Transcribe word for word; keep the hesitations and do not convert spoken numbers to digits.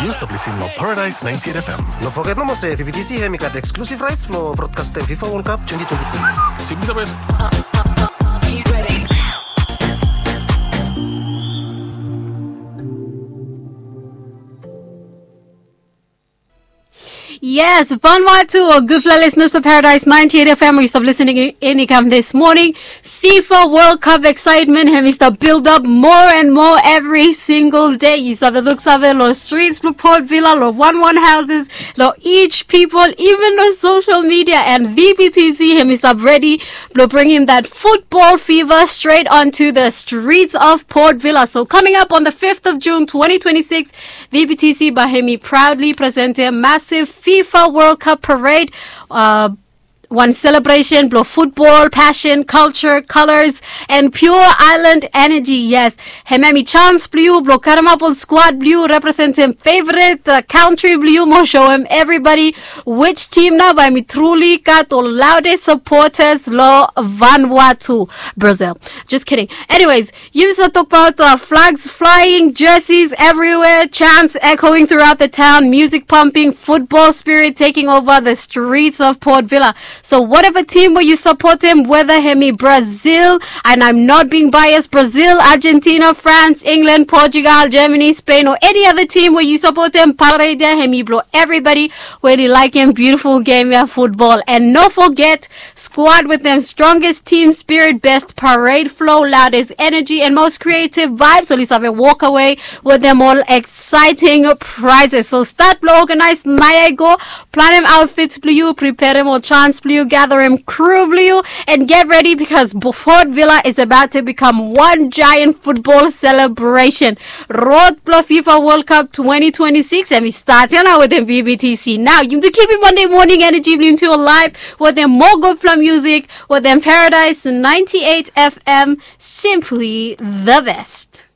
Stap lisin long Paradise ninety-eight F M. No foget nomo se V B T C hemi gat exclusive rights blong broadcastem FIFA World Cup twenty twenty-six. Simply the best. Yes, Vanuatu o gudfala listeners to Paradise ninety-eight F M. We stop listening in, in this morning. FIFA World Cup excitement hemi stap build up more and more every single day. Yu save luksave long streets blong Port Vila, long one one houses, long each people, even long social media, and V B T C hemi stap ready blong bringim that football fever straight onto the streets of Port Vila. So coming up on the fifth of June twenty twenty-six, V B T C bae hemi proudly presentem massive FIFA World Cup parade. Uh, wan selebresen blong futbol, pasen, kalja, kolas, and pure island energy. Yes, hemia hemi sans blong yu blong karemap ol skwad blong yu, representem feveret kantri blong yu, mo soem evribadi which tim nao bae hemi truli gat ol laodest sapotas long Vanuatu, Brazil. Just kidding. Anyways, yu save tokbaot flags flying, jerseys everywhere, chants echoing throughout the town, music pumping, football spirit taking over the streets of Port Vila. So whatever team we yu sapotem, whether hemi Brazil, and I'm not being biased, Brazil, Argentina, France, England, Portugal, Germany, Spain, or any other team we yu sapotem, parade ya hemi blong evribadi we oli laekem beautiful game ya, futbol. And no foget, squad with dem strongest team spirit, best parade flow, loudest energy, and most creative vibes oli save walk away with dem ol exciting prizes. So start blong organize naoia i go. Planem outfits blong yu, preperem ol chants blong yu, gatherem crew blong yu, and get ready because Port Vila is about to become one giant football celebration. Rod blong FIFA World Cup twenty twenty-six hemi start ya nao wetem V B T C. Nao yu kipim Monday morning energy blong yu alive wetem moa gudfala music wetem Paradise ninety-eight F M, simply the best.